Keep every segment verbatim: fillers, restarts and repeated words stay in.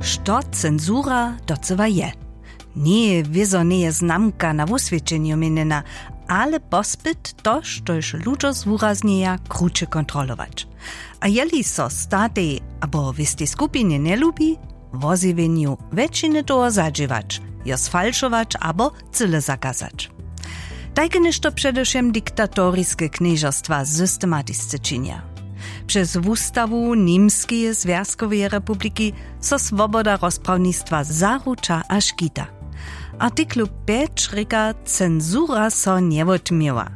Što censura docyła je? Njeje wězo njeje znamka na wuswědčenju měnjena, ale pospyt to, štož ludźo zwuraznjeja, kruće kontrolować. A jeli so statej abo wěstej skupinje njelubi, wozjewjenju wjetšiny toho zadźěłać, jo sfalšować abo cyle zakazać. Tajke něšto předewšěm diktatoriske knježerstwa systematisce činja. Přez wustawu Němskeje zwjazkoweje republiki so swoboda rozprawnistwa zaruča a škita. Artiklu pjeć rěka, censura so njewotměła.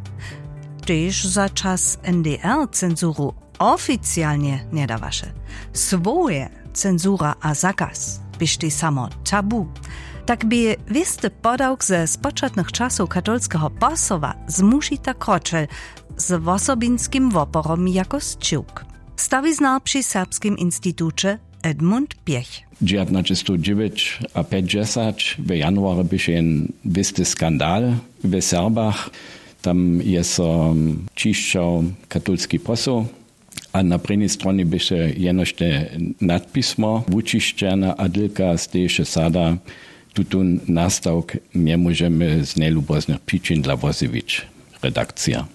Tež za čas N D R censuru oficialnje njedawaše. Słowoje censura a zakaz běštej samo tabu. Tak bě wěsty podawk ze spočatnych časow katolskeho posoła z mušita kročel, z wosobinskim woporom jako sćiwk. Stawiznar při Serbskim instituće Edmund Pjech. Dźewjatnaćestowdźewjećapjećdźesat w januarje běše jen wěsty skandal w Serbach. Tam je so ćišćał katolski posoł a na prěni stronje běše jenož te nadpismo wućišćene a dylka steješe sada: Tutón nastawk njemóžemy z njejluboznych přičin dla wozjewić. Redakcija.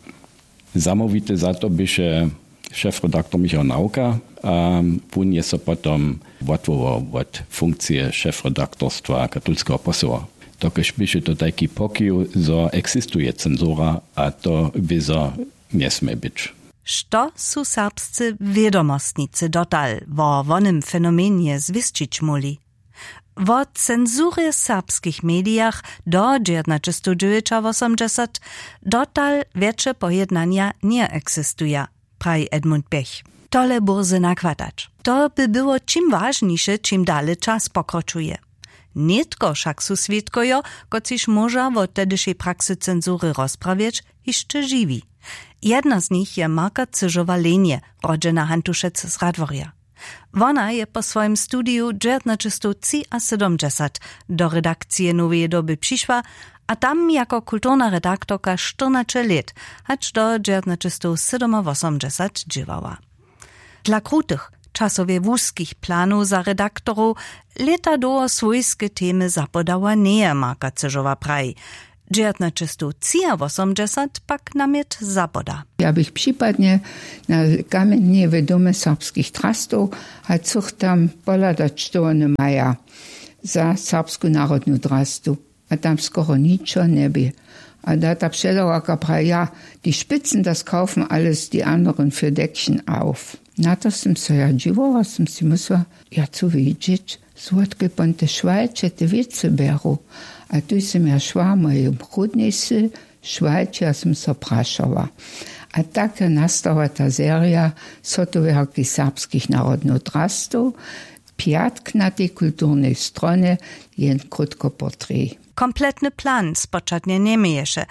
Zamołwity za to běše šefredaktor Michał Nawka a wón je so potom wotwołał wot funkcije šefredaktorstwa katolskeho posoła. Dokelž běše to tajki pokiw, zo eksistuje censura a to wězo njesmě być. Što su serbscy wědomostnicy dotal wo wonym fenomenje zwěsćić móhli? Wo censurje w serbskich medijach do dźewjatnaćestowdźewjećawosomdźesat dotal wjetše pojednanja njeeksistuja, praji Edmund Pjech. Tole bórze nachwadać. To by było ćim wažniše, ćim dale čas pokročuje. Nětko wšak su swědkojo, kotřiž móža wo tehdyšej praksy censury rozprawjeć, hišće žiwi. Jedna z nich je Marka Cyžowa-Lenje, rodźena Hantušec z Radworja. Wona je po swojim studiju dźewjatnaćestowtřiasydomdźesat do redakcije Noweje doby přišła a tam jako kulturna redaktorka štyrnaće lět, hač do dźewjatnaćestowsydomawosomdźesat dźěłała. Dla krutych, časowje wuskich planow za redaktorow lěta dołho swójske temy zapodała njeje, Marka Cyžowa praji. Dźewjatnaćestowtřiawosomdźesat pak namjet zapoda. Ja bych připadnje na kamjenje w Domje serbskich drastow a chcych tam pohladać, što wone maja za Serbsku narodnu drastu. A tam skoro ničo njebě. A da ta předawarka praji: Ja, die Spitzen, das kaufen alles die anderen für Deckchen auf. Na to sym so ja dźiwała, sym si mysla: Ja chcu wědźeć, zwotke pon te šwalće te wěcy bjeru. A tuž sym ja šła mojej prudnjejsy šwalće a sym so prašała. A tak je nastała ta serija sotowarki serbskich narodnych drastow. Pjatk na tej kulturnej stronje jen krótko portrej. Kompletny plan spočatnje njeměješe,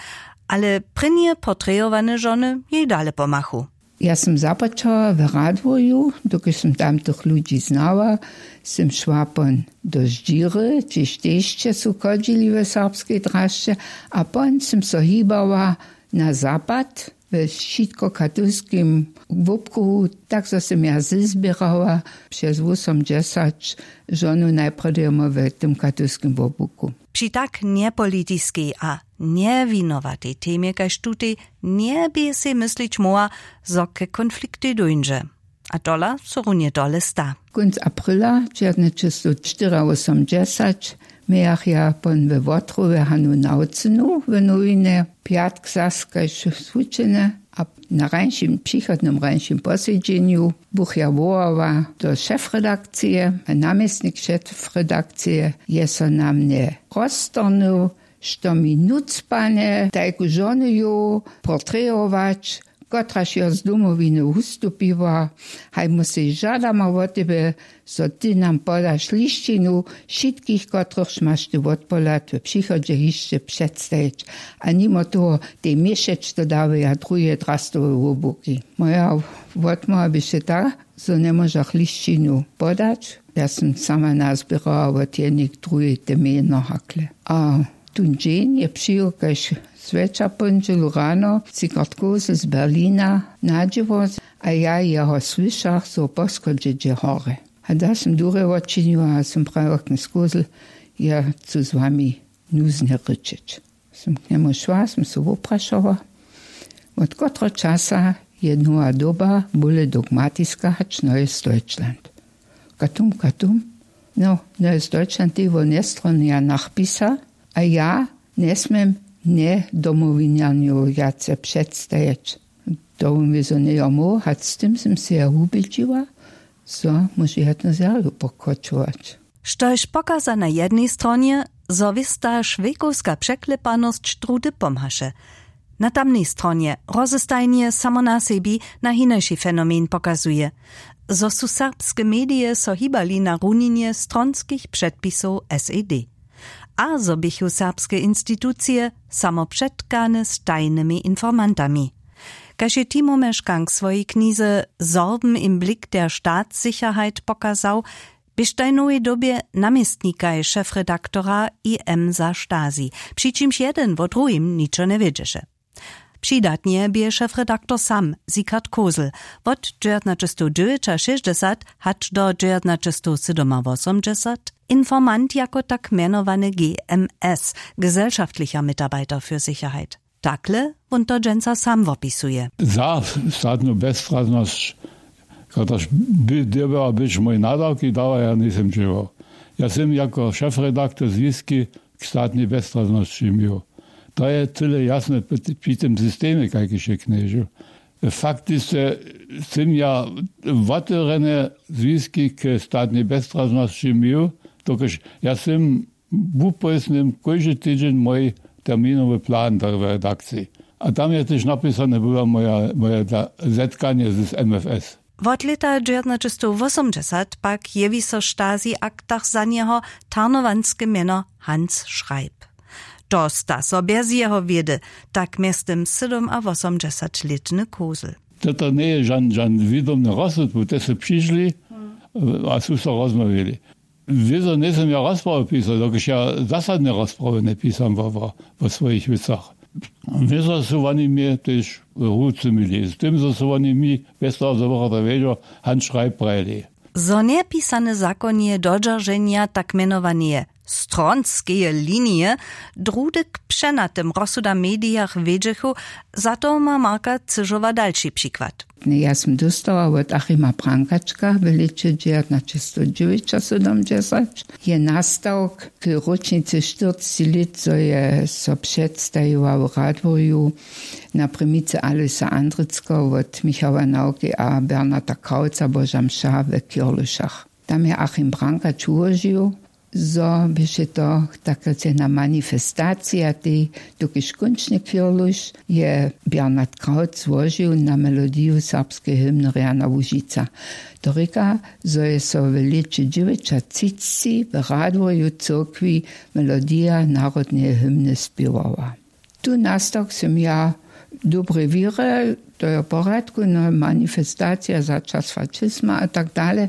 ale prěnje portrejowane žony jej dale pomachu. Ja sym započała w Radworju, dokelž sym tamtych ludźi znała, sym šła pon do Ždźiry, hdźež tež su chodźili w serbskej drasće, a pon sym so hibała na zapad we wšitkokatolskim wobkruhu, tak zo sym ja zběrała přez wósomdźesać žonow najprjedy w tym katolskim wobkruhu. Při tak njepolitiskej a njewinowatej temje kaž tutej njebě sej myslić móhła, zo ke konfliktej dóńdźe. A tola so runje tole sta. Kónc aprila dźewjatnaćestowštyriawosomdźesać mějach ja pon we Wotrowje Hanu Nawcynu w nowinje, pjatk zas kaž swučene, a na rańšim, přichodnym rańšim posedźenju buch ja wołała do šefredakcije. A namjestnik šefredakcije je so na mnje roztorhnył, što mi nucpanje tajku žonuju portrejować, kotraž jo z Domowiny wustupiła. Haj, my sej žadamy wot tebje, zo ty nam podaš lisćinu wšitkich, kotrychž maš ty wotpohlad w přichodźe hišće předstajić. A nimo toho tej měšeć to dawaja druhe drastowe wobłuki. Moja wotmołwa běše ta, zo njemóžach lisćinu podać. Ja sym sama nazběrała wot jednej k druhej te mjeno hakle. A tón dźeń je přijěł kaž zwjetša póndźelu rano Sigurd Kosel z Berlina na dźěło, a ja jeho słyšach, zo po schodźe dźe hore. A da sym durje wočiniła a sym prajiła k njej skózl, ja chcu z wami nuznje rěčeć. Sym k njemu šła, sym se wuprašała, wot kotreho časa je nowa doba bóle dogmatiska hač noje stoitšland? Katum katum? No, noje stoitšland tewo njestronja nachpisa, a ja njesmjem njedomowinjanju wjace předstajeć. To wón wězo njejo móhł hač z tym sym se ja wubědźiła, zo móže jednu zerju pokročować. Štož pokaza na jednej stronje, zo wěsta šwejkowska překlepanosć druhdy pomhaše, na tamnej stronje rozestajnje samo na sebi na hinaši fenomen pokazuje, zo su serbske medije so hibali na runinje stronskich předpisow sed, a zo běchu serbske institucije samo předkane z tajnymi informantami. Kaž je timo meškank swojej knize Sorben im Blick der Staatssicherheit pokazał, běštaj nowej dobje namjestnikaj šefredaktora im za Stasi, při čimž jedyn wo druhim ničo njewědźeše. Přidatnje bě šefredaktor sam Siegfried Kosel wot dźewjatnaćestowdźewjećašěsćdźesat hač do dźewjatnaćestowsydomawosomdźesat informant jako tak mjenowany gms, gesellschaftlicher Mitarbeiter für Sicherheit. Takle wón to dźensa sam wopisuje. Za statnu bezstraznosć, kotraž by dyrbjała być mój nadawki dała, ja njejsym dźěłał. Ja sym jako šefredaktor zwiski k statnej bezstraznosći měł. To je tyle jasne při tym systemje, kajkiž je knježu. Faktiske sym ja wotewrjene zwiski k statnej bezstraznosći měł, dokelž ja sym wupójsnym kóždy tydźeń mój terminowy plan do redakciji. A tam je tež napisane, była moja, moje zetkanje z mfs. Wot lěta dźewjatnaćestowwosomdźesat pak jewi so w Stasi-aktach za njeho tarnowanske mjeno Hans Schreib. To sta so bjez jeho wědy, tak mjeztym sydomawosomdźesatlětny Kosel. To to njeje žan žan wědomny rozsud, bo te su přišli a su so rozmawili. Wězo njejsym ja rozprawy pisał, dokelž ja zasadne rozprawy njepisam wo wo wo swojich wěcach. Wězo su woni mje tež rucy měli z tym zo su woni mi, bjez toho zo bychom to wědźo, Hans Schreib prajili. Zo njepisane zakonje dodźerženja tak mjenowaneje stronskeje linije druhdy k přenatym rozsudam w medijach wědźechu, za to ma Marka Cyžowa dalši přikład. Ja sym dóstała wot Achima Brankačka w lěće dźewjatnaćestowdźewjećasydomdźesat je nastawk k róčnicy štyrceći lět, zo je so předstajiła w Radworju na primicy Alojsa Andrickeho wot Michała Nawki a Bernarda Krauca Boža mša we Kirlušach. Tam je Achim Brankač wułožił, zo běše to tak rěcena manifestacija, tej dokelž kónčny Kirluš je Bernard Kraut złožił na melodiju serbskeje hymny Rjana Łužica. To rěka, zo je so w lěće dźewjećatřicci w Radworju cyrkwi melodija narodneje hymny spěwała. Tu nastawk sym ja w dobrej wěrje, to je w porjadku, no, manifestacija za čas fašizma a tak dale,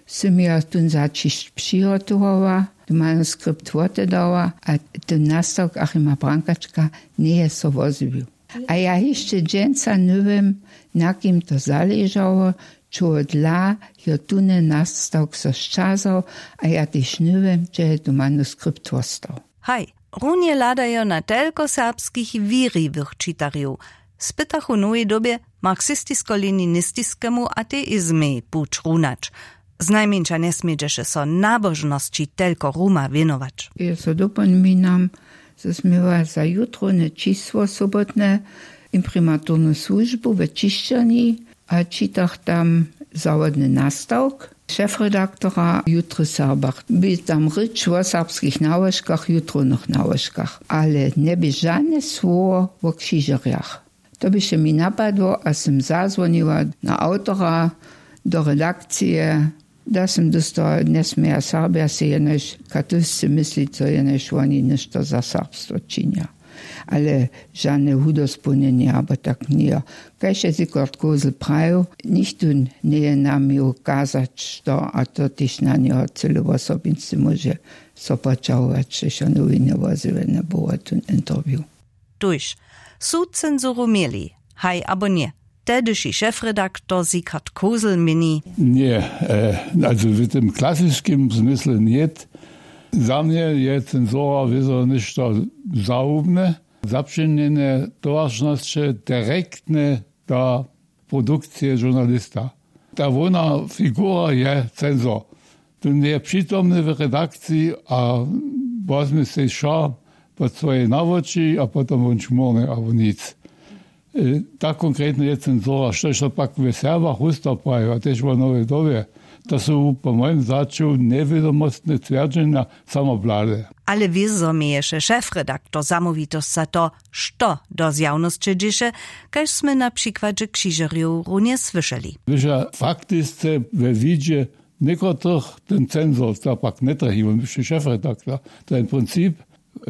sym ja tón zaćišć přihotowała, tón manuskript wotedała a tón nastawk Achima Brankačka njeje so wozjewił. A ja hišće dźensa njewěm, na kim to zaležało, čehodla jo tón nastawk so sćazał, a ja tež njewěm, hdźe je tón manuskript wostał. Haj, runje hladajo na telko serbskich wěriwych čitarjow, spytachu w nowej dobje marksistisko-leninistiskemu ateizmej puć runać. Znajmjeńša njesmědźeše so nabožnosći telko ruma wěnować. Ja so dopominam, zo smy měła za jutrowne čisło sobotne imprimaturnu słužbu we čišćerni a čitach tam zawodny nastawk šefredaktora jutry w Serbach. Bě tam rěč wo serbskich nałožkach, jutrownych nałožkach, ale njebě žane słowo wo křižerjach. To běše mi napadło a sym zazwoniła na awtora do redakcije, da sym dóstała, njesměja Serbja sej jenož katolsce myslić, zo jenož woni něšto za serbstwo činja. Ale žane hudospołnjenje abo tak njejo. Kaž je Sigurd Kosel prajił, nichtó njeje nam měł kazać što, a to tež na njeho cyle wosobinsce móže so poćahować, štož jo nowiny wozjewjene było tón interview. Tuž su censuru měli, haj abo ně? Tehdyši šefredaktor Siegfried Kosel měni: Ně, also w tym klasiskim zmysle nět. Za mnje je censura wězo něšto zahubne, zapřeměnje towaršnosće direktne do produkcije žurnalista. Ta hłowna figura je censor. Tón je přitomny w redakciji a wozmy sej wšo pod swoje nawoči a potom wón čmórny abo nic. Tak konkretnje je censura, štož so pak w serbach wustaw prajił a tež wo nowej dobje. To su po mojim začu njewědomostne twjerdźenja. Samoblade. Ale wězo měješe šefredaktor zamołwitosć za to, što do zjawnosće dźěše, kaž smy na přikładźe křižerjow runje słyšeli. Wyša faktisce we widźe někotrych ten censor to pak njetrachi, wón běše šefredaktor. To je princip,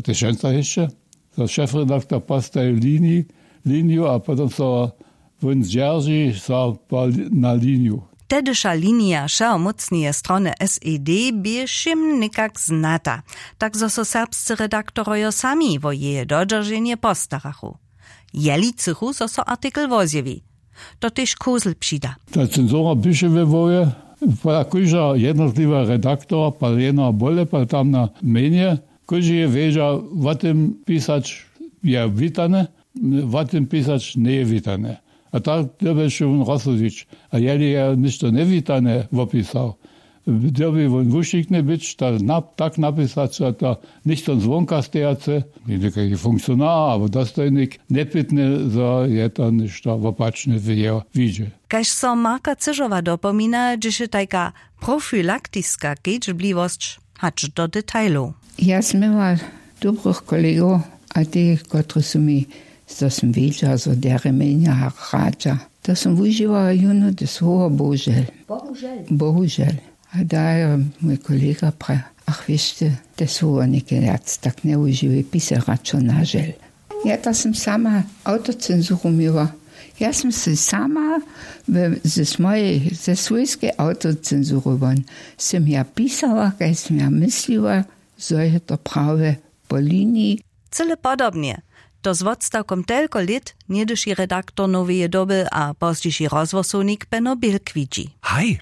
tež wjenca hišće, zo šefredaktor postaji liniju a potom so wón zdźerži so na liniju. Tehdyša linija wšehomócneje strony sed bě wšěm někak znata, tak zo so serbscy redaktorojo sami wo jeje dodźerženje postarachu. Jeli chcychu zo so artikl wozjewi, to tež Kosel přida. Ta censura běše we hłowje, pola kóžda jednotliwa redaktora pal jena bóle pal tamna mjenje, kóždy je wědźa, wo tym pisać je witane, wo tym pisać njeje witane. A tak dyrbješe wón rozsudźić. A jeli je něšto njewitane wopisał, dyrbi wón wušikny być tak napisać, zo to něchtó zwonka stejacy, někajki funkcionar abo dostojnik, njepytny, zo je to něšto wopačne w jeho widźe. Kaž so Marka Cyžowa dopomina, dźěše tajka profilaktiska kedźbliwosć hač do detailow. Ja směła dobrych kolegow, a te, kotrež su mi, zo sym wědźa, zo derje mjenja hradźa, to sym wužiwała jónu te słowo bohužel. Bohužel. A daje mój kolega pra, ach wěš ty, te słowo někaj wjac tak njewužiwaj, pisaj radšo na žel. Ja to sym sama awtocensuru měła. Ja sym sej sama ze swójskej awtocensuru won sym ja pisała, kaž sym ja mysliła, zo je to prawje po liniji. Cyle podobnje, to z wotstawkom telko lět, něhdyši redaktor noweje doby a pozdźiši rozhłosownik beno bilk widźi. Haj.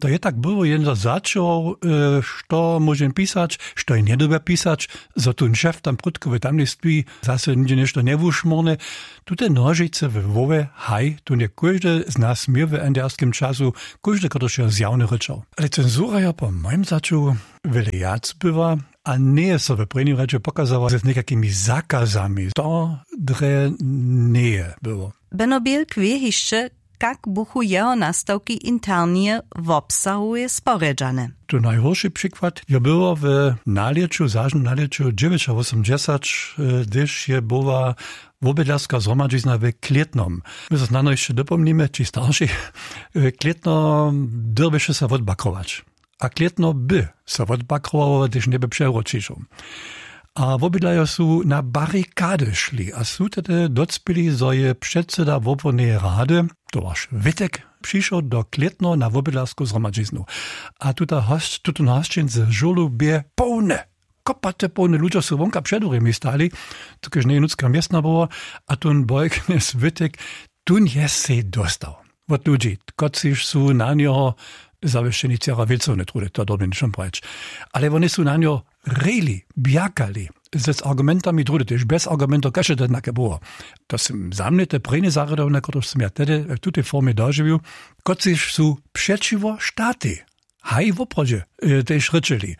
To je tak było jen za začował, što móžem pisać, što je njedyrbja pisać, zo tón šef tam prudko w tamnej stwi zase něhdźe něšto njewušmórne. Tute nožice we hłowje, haj, tón je kóždy z nas měł w n d r skim času, kóždy kotryž je zjawny rěčał. Ale censura je po mojim začu wjele wjac była, a njeje so w prěnim rjedźe pokazała z někajkimi zakazami, to drje njeje było. Beno bilk wě hišće, kak buchu jeho nastawki internje wobsahowe sporjedźane. Tu najhórši přikład jo było w nalěću zažnym nalěću dźewjećawosomdźesać, hdyž je była wobydlerska zhromadźizna w klětnom. My so snano hišće dopomnimy ći starši, klětno dyrbješe so wotbakrować. A klětno by so wotbakrowało, hdyž njeby přewróćišow. A wobydlerjo su na barikady šli a su tehdy docpěli, zo je předsyda wobłodneje rady, towarš wittek, přišoł do klětno na wobydlersku zhromadźiznu. A tuta hosć tutón hosćin ze žurlu bě połny. Kopaty połny ludźo su wonka před dwěrjemi stali, dokelž njeje nutřka městna było. A tón bojk mjez wittek, tón je sej dóstał wot ludźi, kotřiž su na njeho zawěsćeni cera wěcowne trudy, to dyrbjam něčem prajić. Ale woni su na njeho rejli, bjakali, z argumentami trudy tež bjez argumentow, kaž je to jednake było. To sym za mnje te prěnje zarjadowanja, kotrež sym ja tehdy w tutej formje dožiwił, kotřiž su přećiwo štatej, haj woprawdźe, tež rěčeli.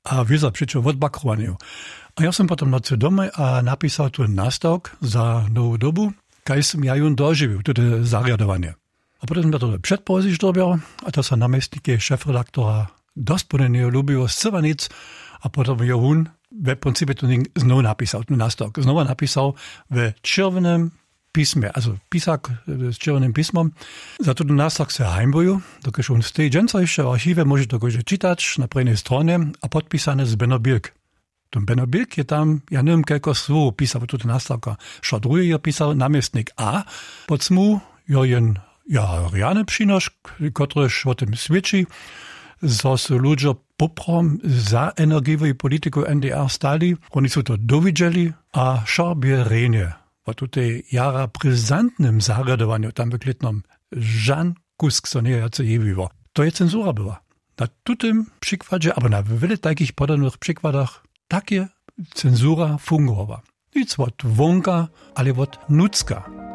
A wězo přećo wotbakrowanju. A ja sym potom nocy domoj a napisał tu nastawk za nowu dobu, kaž sym ja jón dožiwił tute zarjadowanje. A potom sym ja to předpołožić dyrbjał, a to so namjestnikej šefredaktora dospołnjenje lubiło scyła nic. A potom jo wón we principje to znowu napisał tu nastawk znowa napisał we čerwjenym pismje, also pisak z čerwjenym pismom. Za tuto nastawk se hańbuju, dokelž wón steji dźensa hišće w archiwje, móže to kóždy čitać na prěnjej stronje, a podpisane z beno bilk. Tón beno bilk je tam, ja njewěm kelko słowow pisał tuto nastawka. Wšo druhe je pisał namjestnik a pod smu jo jen jara rjany přinošk, kotryž wo tym swědči, zo su ludźo poprawom za energijowej politiku n d r stali. Woni su to dowidźeli a wšo bě rjenje. Po tutej jara brizantnym zarjadowanju tam w klětnom žan kusk so njejo wjace jewiło. To je censura była. Na tutym přikładźe abo na wjele tajkich podobnych přikładach tak je censura fungowa. Nic wot wonka, ale wot nutřka.